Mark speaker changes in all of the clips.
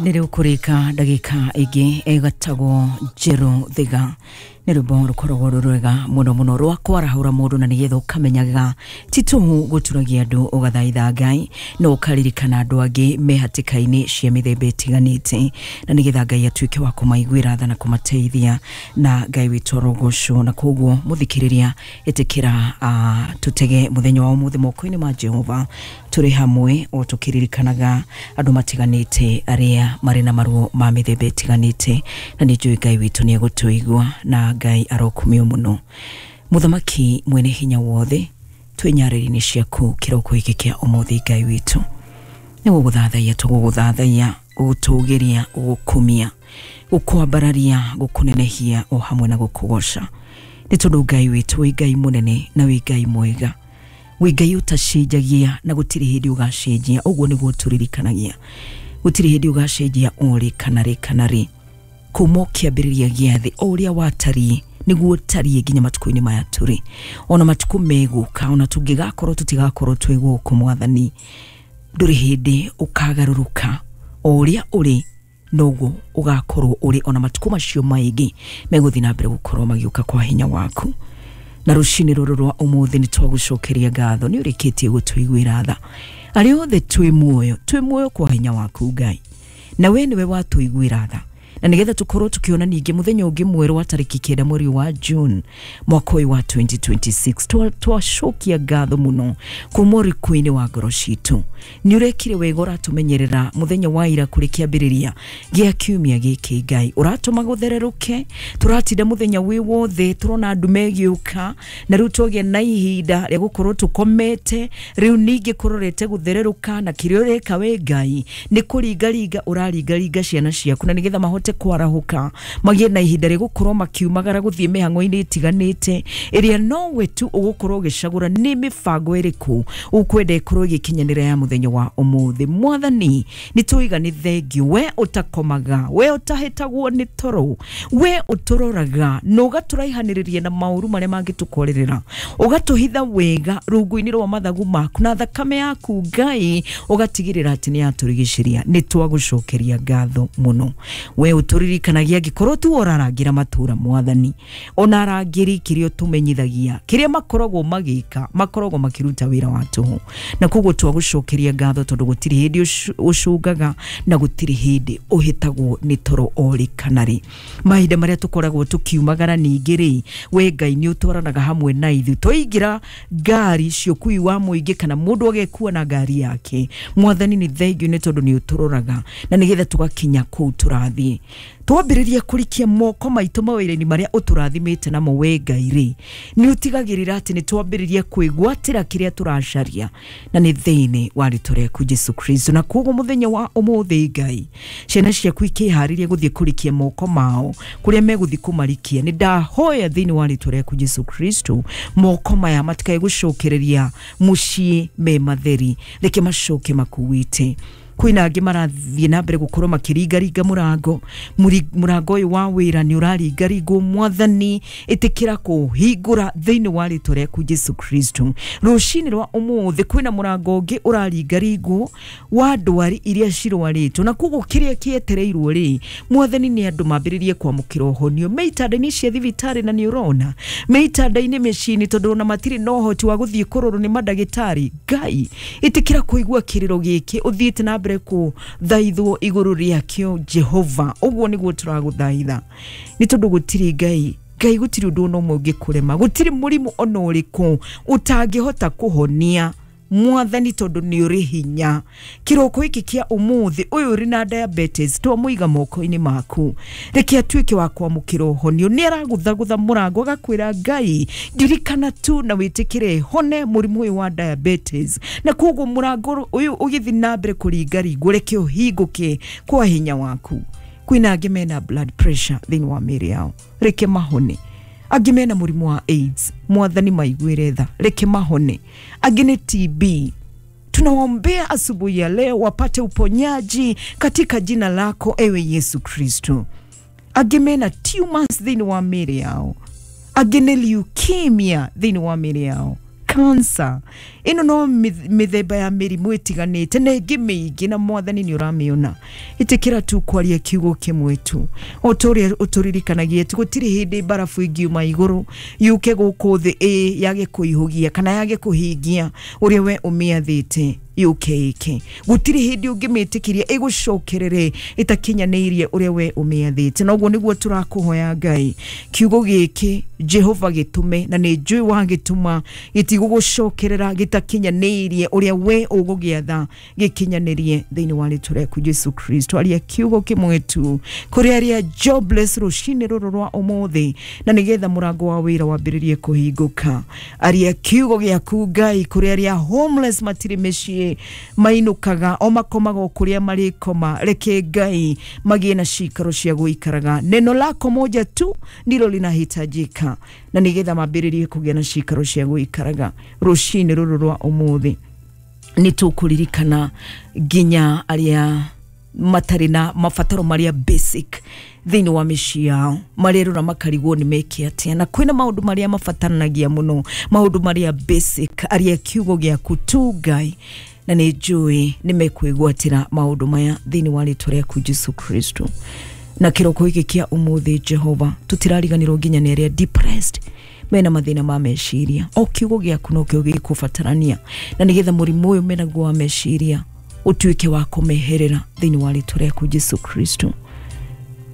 Speaker 1: Nĩ rĩu kũrĩka ndagĩka ĩngĩ ĩgatagwo Njerũ Thiga. Nĩ rwĩmbo rũkoragwo rwĩ rwega mũno mũno rwa kwarahũra mũndũ na nĩgetha ũkamenyaga ti tũhũ gũturagia andũ ũgathaitha Ngai na ũkaririkana andũ angĩ me hatĩka-inĩ cia mĩthemba ĩtiganĩte, na nĩgetha Ngai atuĩke wa kũmaiguĩra tha na kũmateithia, na Ngai witũ arogocwo. Na koguo mũthikĩrĩria, ĩtĩkĩra tũtege mũthenya wa ũmũthĩ moko-inĩ ma Jehova tũrĩ hamwe o tũkĩririkanaga andũ matiganĩte arĩa marĩ na maruo ma mĩthemba ĩtiganĩte, na nĩ njũĩ Ngai witũ nĩ egũtũigua na Ngai arokumio mũno. Mũthamaki mwene hinya wothe, twĩ nyarĩrĩ-inĩ ciaku kĩroko gĩkĩ kĩa ũmũthĩ. Ngai witũ, nĩ gũgũthathaiya tũgũgũthathaiya, gũgũtũgĩria, gũgũkumia, gũkwambararia, gũkũnenehia o hamwe na gũkũgoca, nĩ tondũ Ngai witũ wĩ Ngai mũnene na wĩ Ngai mwega, wĩ Ngai ũtacenjagia na gũtirĩ hĩndĩ ũgacenjia. Ũguo nĩguo tũririkanagia, gũtirĩ hĩndĩ ũgacenjia o rĩ kana rĩ kana rĩ. Kuma o kĩambĩrĩria gĩa thĩ, o ũrĩa watariĩ nĩguo ũtariĩ nginya matukũ-inĩ maya tũrĩ, ona matukũ megũka, ona tũngĩgakorwo tũtigakorwo twĩ gũkũ. Mwathani, ndũrĩ hĩndĩ ũkagarũrũka, o ũrĩa ũrĩ noguo ũgakorwo ũrĩ ona matukũ macio maingĩ megũthiĩ na mbere gũkorwo magĩũka kwa hinya waku. Na rũcinĩ rũrũ rwa ũmũthĩ nĩ twagũcokeria ngatho, nĩ ũrĩkĩtie gũtũiguĩra tha. Arĩa othe twĩ muoyo, twĩ muoyo kwa hinya waku Ngai, na we nĩwe watũiguĩra tha, na nĩgetha tũkorwo tũkĩona ningĩ mũthenya ũngĩ mwerũ wa tarĩki 9 mweri wa June mwaka ũyũ wa 2026. Twacokia ngatho mũno kuma ũriku-inĩ wa ngoro citũ. Nĩ ũrekire wega, ũratũmenyerera mũthenya wa ira kũrĩ kĩambĩrĩria gĩa kiumia gĩkĩ. Ngai, ũratũma gũthererũke, tũratinda mũthenya wĩ wothe tũrona ndume ĩgĩũka, na rĩu twagĩa na ihinda rĩa gũkorwo tũkomete. Rĩu ningĩ kũrorete gũthererũka, na kĩrĩa ũreka we Ngai nĩ kũringaringa ũraringaringa ciana ciaku, na nĩgetha mahote kwarahũka magĩe na ihinda rĩa gũkorwo makiumagara gũthiĩ mĩhang'o-inĩ ĩtiganĩte ĩrĩa nowe tu ũgũkorwo ũgĩcagũra nĩ mĩbango ĩrĩkũ ũkwenda ĩkorwo ĩgĩkinyanĩra ya mũthenya wa ũmũthĩ. Mwathani, nĩ tũiga nĩ thengiũ, we ũtakomaga, we ũtahĩtagwo nĩ toro, we ũtũroraga na ũgatũraihanĩrĩria na maũru marĩa mangĩtũkorerera, ũgatũhitha wega rungu-inĩ rwa mathagu maku, na thakame yaku Ngai ũgatigĩrĩra atĩ nĩ yatũrigicĩria. Nĩ twagũcokeria ngatho mũno. We ũtũririkanagia angĩkorwo tu ũrarangĩra matũra, Mwathani, ona arangĩri kĩrĩa ũtũmenyithagia kĩrĩa makoragwo magĩka makoragwo makĩruta wĩra wa tũhũ, na koguo twagũcokeria ngatho tondũ gũtirĩ hĩndĩ ũcũngaga na gũtirĩ hĩndĩ ũhĩtagwo nĩ toro orĩ kana rĩ. Mahinda marĩa tũkoragwo tũkiumagara ningĩ rĩ, we Ngai nĩ ũtwaranaga hamwe na ithuĩ twaingĩra ngari cia ũkui wa mũingĩ kana mũndũ agekua na ngari yake. Mwathani, nĩ thengiũ nĩ tondũ nĩ ũtũroraga na nĩgetha tũgakinya kũu tũrathiĩ. Twambĩrĩria kũrikia moko maitũ mawĩra-inĩ marĩa ũtũrathimĩte namo we Ngai rĩ, nĩ ũtigagĩrĩra atĩ nĩ twambĩrĩria kwĩgwatĩra kĩrĩa tũracaria, na nĩ thĩinĩ wa rĩtwa rĩaku Jesu Kristo. Na koguo mũthenya wa ũmũthĩ Ngai, ciana ciaku ikĩharĩria gũthiĩ kũrikia moko mao kũrĩa megũthiĩ kũmarikia, nĩ ndahoya thĩinĩ wa rĩtwa rĩaku Jesu Kristo, moko maya matikae gũcokereria mũciĩ me matheri, reke macoke makuĩte. Kwĩna angĩ marathiĩ na mbere gũkorwo makĩringaringa mũrango. Mũrango ũyũ wa wĩra nĩ ũraringaringwo. Mwathani, ĩtĩkĩra kũhingũra thĩinĩ wa rĩtwa rĩaku Jesu Kristo. Rũcinĩ rwa ũmũthĩ kwĩna mũrango ũngĩ ũraringaringwo wa ndwari iria cirwarĩtwo, na koguo kĩrĩa kĩetereirwo rĩ, Mwathani, nĩ andũ mambĩrĩrie kwamũkĩra ũhonio me itanda-inĩ cia thibitarĩ, na nĩ ũrona me itanda-inĩ mĩciĩ-inĩ, tondũ ona matirĩ na ũhoti wa gũthiĩ kũrorwo nĩ mandagĩtarĩ. Ngai, ĩtĩkĩra kũigua kĩrĩro gĩkĩ ũthiĩte na mbere kũthaithwo igũrũ rĩakĩo. Jehova, ũguo nĩguo tũragũthaitha, nĩ tondũ gũtirĩ Ngai, Ngai, gũtirĩ ũndũ ona ũmwe ũngĩkũrema, gũtirĩ mũrimũ ona ũrĩkũ ũtangĩhota kũhonia, Mwathani, tondũ nĩ ũrĩ hinya. Kĩroko gĩkĩ kĩa ũmũthĩ, ũyũ ũrĩ na diabetes twamũiga moko-inĩ maku, reke atuĩke wa kwamũkĩra ũhonio. Nĩ aragũthagũtha mũrango agakwĩra, "Ngai, ndirikana tu na wĩtĩkĩre hone mũrimũ ũyũ wa diabetes." Na koguo mũrango ũyũ ũgĩthiĩ na mbere kũringaringwo, reke ũhingũke kwa hinya waku. Kwĩna angĩ mena blood pressure thĩinĩ wa mĩĩrĩ yao, reke mahone. Angĩ mena mũrimũ wa AIDS, Mwathani, maiguĩre tha, reke mahone. Angĩ nĩ TB, tunawaombea asubuhi ya leo wapate uponyaji katika jina lako ewe Yesu Kristo. Angĩ mena tumors thĩinĩ wa mĩĩrĩ yao, angĩ nĩ leukemia thĩinĩ wa mĩĩrĩ yao. Cancer ĩno no mĩthemba ya mĩrimũ ĩtiganĩte na ĩngĩ mĩingĩ, na Mwathani nĩ ũramĩona. Ĩtĩkĩra tu kwaria kiugo kĩmwe tu, o ta ũrĩa ũtũririkanagia atĩ gũtirĩ hĩndĩ mbarabu ĩngiuma igũrũ yũke gũkũ thĩ ĩ yage kũihũgia kana yage kũhingia ũrĩa we ũmĩathĩte yũke ĩke. Gũtirĩ hĩndĩ ũngĩmĩtĩkĩria ĩgũcokerere ĩtakinyanĩirie ũrĩa we ũmĩathĩte. Na ũguo nĩguo tũrakũhoya Ngai, kiugo gĩkĩ Jehova gĩtũme, na nĩ njũĩ wagĩtũma gĩtigũgũcokerera gĩtakinyanĩirie ũrĩa we ũgũgĩatha gĩkinyanĩrie thĩinĩ wa rĩtwa rĩaku Jesu Kristo. Aria kiugo kĩmwe tu kũrĩ arĩa jobless rũcinĩ rũrũ rwa ũmũthĩ, na nĩgetha mũrango wa wĩra wambĩrĩrie kũhingũka. Aria kiugo gĩaku Ngai kũrĩ arĩa homeless, matirĩ mĩciĩ, mainũkaga o makomaga o kũrĩa marĩkoma. Reke Ngai magĩe na cikaro cia gũikaraga. Neno lako moja tu ndilo linahitajika, na nĩgetha mambĩrĩrie kũgĩa na cikaro cia gũikaraga. Rũcinĩ rũrũ rwa ũmũthĩ nĩ tũkũririkana nginya arĩa matarĩ na mabataro marĩa basic thĩinĩ wa mĩciĩ yao, marerora makarigwo nĩ meke atĩa, na kwĩna maũndũ marĩa mabataranagia mũno, maũndũ marĩa basic. Aria kiugo gĩaku tu Ngai, na nĩ njũĩ nĩ mekwĩgwatĩra maũndũ maya thĩinĩ wa rĩtwa rĩaku Jesu Kristo. Na kĩroko gĩkĩ kĩa ũmũthĩ Jehova, tũtirariganĩrwo nginya nĩ arĩa depressed, mena mathĩna ma meciria. O kiugo gĩaku nokĩo gĩkũbatarania, na nĩgetha mũrimũ ũyũ menaguo wa meciria ũtuĩke wa kũmeherera thĩinĩ wa rĩtwa rĩaku Jesu Kristo.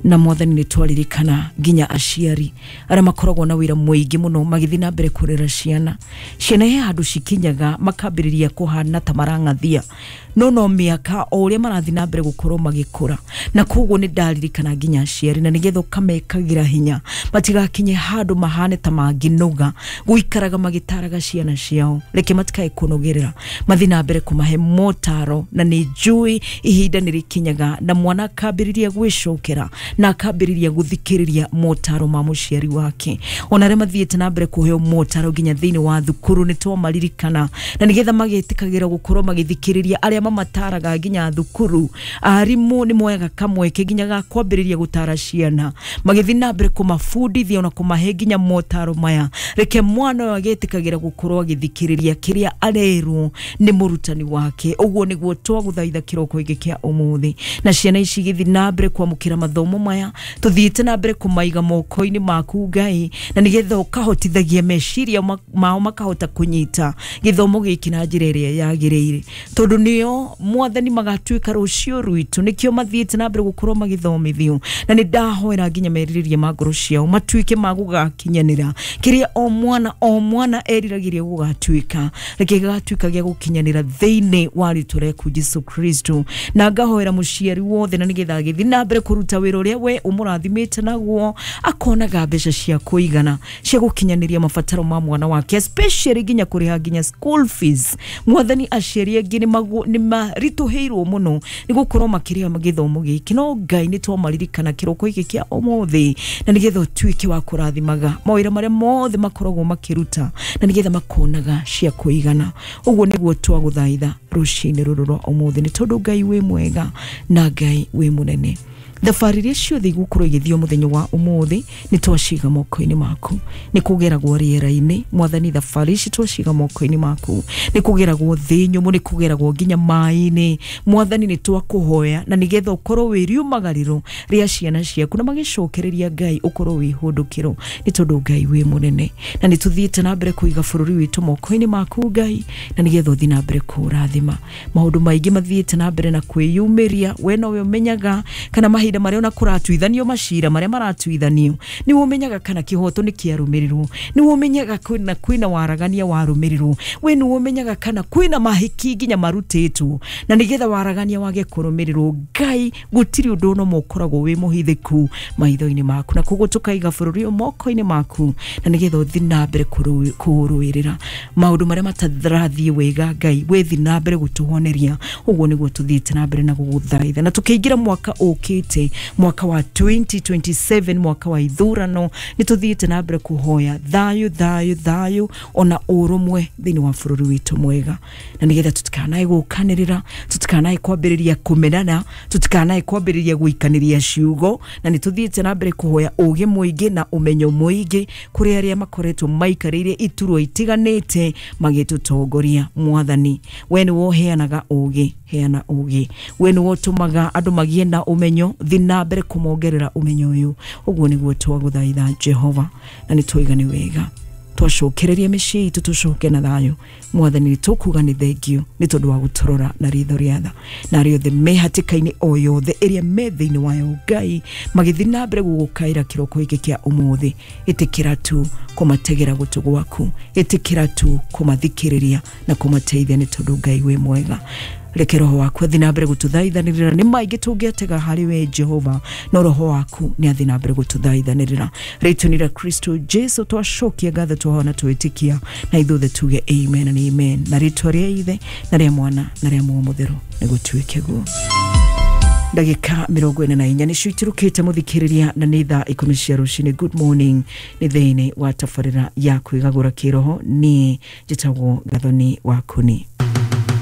Speaker 1: Na Mwathani, nĩ twaririkana nginya aciari arĩa makoragwo na wĩra mũingĩ mũno magĩthiĩ na mbere kũrera ciana. Ciana he handũ cikinyaga makambĩrĩria kũhana ta marang'athia, no mĩaka o ũrĩa marathiĩ na mbere gũkorwo magĩkũra. Na koguo nĩ ndaririkana nginya aciari, na nĩgetha ũkamekagĩra hinya matigakinye handũ mahane ta mangĩnoga gũikaraga magĩtaraga ciana ciao. Reke matikae kũnogerera, mathiĩ na mbere kũmahe motaro, na nĩ njũĩ ihinda nĩ rĩkinyaga na mwana akambĩrĩria gwĩcokera na akambĩrĩria gũthikĩrĩria motaro ma mũciari wake. Ona arĩa mathiĩte na mbere kũheo motaro nginya thĩinĩ wa thukuru nĩ twamaririkana, na nĩgetha magetĩkagĩra gũkorwo magĩthikĩrĩria arĩa mamataraga nginya thukuru. Arimũ nĩ moyaga kamweke nginya ga kwambĩrĩria gũtara ciana, magĩthiĩ na mbere kũmabundithia ona kũmahe nginya motaro maya. Reke mwana ũyũ agetĩkagĩra gũkorwo agĩthikĩrĩria kĩrĩa arerwo nĩ mũrutani wake. Ũguo nĩguo twagũthaitha kĩroko gĩkĩ kĩa ũmũthĩ, na ciana ici igĩthiĩ na mbere kwamũkĩra mathomo maya, tũthiĩte na mbere kũmaiga moko-inĩ maku Ngai, na nĩgetha ũkahotithagia meciria mao makahota kũnyita gĩthomo gĩkĩ na njĩra ĩrĩa yagĩrĩire, tondũ nĩo Mwathani magatuĩka rũciũ rwitũ. Nĩkĩo mathiĩte na mbere gũkorwo magĩthomithio, na nĩ ndahoera nginya merirĩria ma ngoro ciao matuĩke ma gũgakinyanĩra kĩrĩa o mwana o mwana eriragĩria gũgatuĩka. Reke gĩgatuĩka gĩa gũkinyanĩra thĩinĩ wa rĩtwa rĩaku Jesu Kristo. Na ngahoera mũciari wothe, na nĩgetha agĩthiĩ na mbere kũruta wĩra ũrĩa we ũmũrathimĩte naguo, akonaga mbeca cia kũigana cia gũkinyanĩria mabataro ma mwana wake, especially nginya kũrĩha nginya school fees. Mwathani, aciari angĩ nĩ maritũhĩirwo mũno nĩ gũkorwo makĩrĩha gĩthomo gĩkĩ, no Ngai nĩ twamaririkana kĩroko gĩkĩ kĩa ũmũthĩ, na nĩgetha ũtuĩke wa kũrathimaga mawĩra marĩa mothe makoragwo makĩruta, na nĩgetha makonaga cia kũigana. Ũguo nĩguo twagũthaitha rũcinĩ rũrũ rwa ũmũthĩ, nĩ tondũ Ngai wĩ mwega na Ngai wĩ mũnene. Thabarĩ iria ciothe igũkorwo igĩthio mũthenya wa ũmũthĩ nĩ twaciga moko-inĩ maku. Nĩ kũgeragwo rĩera-inĩ, Mwathani, thabarĩ ici twaciga moko-inĩ maku. Nĩ kũgeragwo thĩ nyũmũ, nĩ kũgeragwo nginya maĩ-inĩ. Mwathani, nĩ twakũhoya, na nĩgetha ũkorwo wĩ riumagarĩro rĩa ciana ciaku, na magĩcokereria Ngai ũkorwo wĩ hũndũkĩro, nĩ tondũ Ngai wĩ mũnene. Na nĩ tũthiĩte na mbere kũiga bũrũri witũ moko-inĩ maku Ngai, na nĩgetha ũthiĩ na mbere kũũrathima. Maũndũ maingĩ mathiĩte na mbere na kwĩyumĩria, we nowe ũmenyaga kana mahinda marĩa ona kũratuithanio, macira marĩa maratuithanio, nĩwe ũmenyaga kana kĩhoto nĩ kĩarũmĩrĩrwo, nĩwe ũmenyaga kwĩna waragania warũmĩrĩrwo, we nĩwe ũmenyaga kana kwĩna mahiki nginya marutĩtwo, na nĩgetha waragania wage kũrũmĩrĩrwo. Ngai, gũtirĩ ũndũ ona ũmwe ũkoragwo wĩ mũhithĩku maitho-inĩ maku, na koguo tũkaiga bũrũri ũyũ moko-inĩ maku, na nĩgetha ũthiĩ na mbere kũũrũĩrĩra. Maũndũ marĩa matarathiĩ wega, Ngai, wĩthiĩ na mbere gũtũhoneria. Ũguo nĩguo tũthiĩte na mbere na gũgũthaitha, na tũkĩingĩra mwaka ũkĩte. Ũkĩte mwaka wa 2027, mwaka wa ithurano, nĩ tũthiĩte na mbere kũhoya thayũ, thayũ, thayũ ona ũrũmwe thĩinĩ wa bũrũri witũ mwega, na nĩgetha tũtikanae gũkanĩrĩra, tũtikanae kwambĩrĩria kũmenana, tũtikanae kwambĩrĩria gũikanĩria ciugo. Na nĩ tũthiĩte na mbere kũhoya ũgĩ mũingĩ na ũmenyo mũingĩ kũrĩ arĩa makoretwo maikarĩire iturwa itiganĩte magĩtũtongoria. Mwathani, we nĩwe ũheanaga ũgĩ, heana ũgĩ. We nĩwe ũtũmaga andũ magĩe na ũmenyo, thi na mbere kũmongerera ũmenyo ũyũ. Ũguo nĩguo twagũthaitha Jehova, na nĩ twaiga nĩ wega twacokereria mĩciĩ itũ, tũcoke na thayũ. Mwathani, nĩ tũkuga nĩ thengio nĩ tondũ wa gũtũrora na ritho rĩa tha, na arĩa othe me hatĩka-inĩ o yothe ĩrĩa me thĩinĩ wayo, Ngai, magĩthiĩ na mbere gũgũkaĩra kĩroko gĩkĩ kĩa ũmũthĩ, ĩtĩkĩra tu kũmategera gũtũ gwaku, ĩtĩkĩra tu kũmathikĩrĩria na kũmateithia, nĩ tondũ Ngai wĩ mwega. Reke roho waku athi na mbere gũtũthaithanĩrĩra. Nĩ maingĩ tũngĩatega harĩ we Jehova, no roho waku nĩ athi na mbere gũtũthaithanĩrĩra. Rĩtwa-inĩ rĩa Kristo Jesu twacokia ngatho, twahona, twĩtĩkia, na ithuothe tuge amen and amen. Na rĩtwa rĩa Ithe na rĩa Mwana na rĩa Muoyo Mũtheru nĩ gũtuĩke guo. Ndagĩka 44 nĩcio itirũkĩte, mũthikĩrĩria, na nĩ thaa 10 cia rũcinĩ. Good morning, nĩ thĩinĩ wa tabarĩra ya kwĩgagũra kĩroho. Niĩ njĩtagwo Gathoni wa Kuni.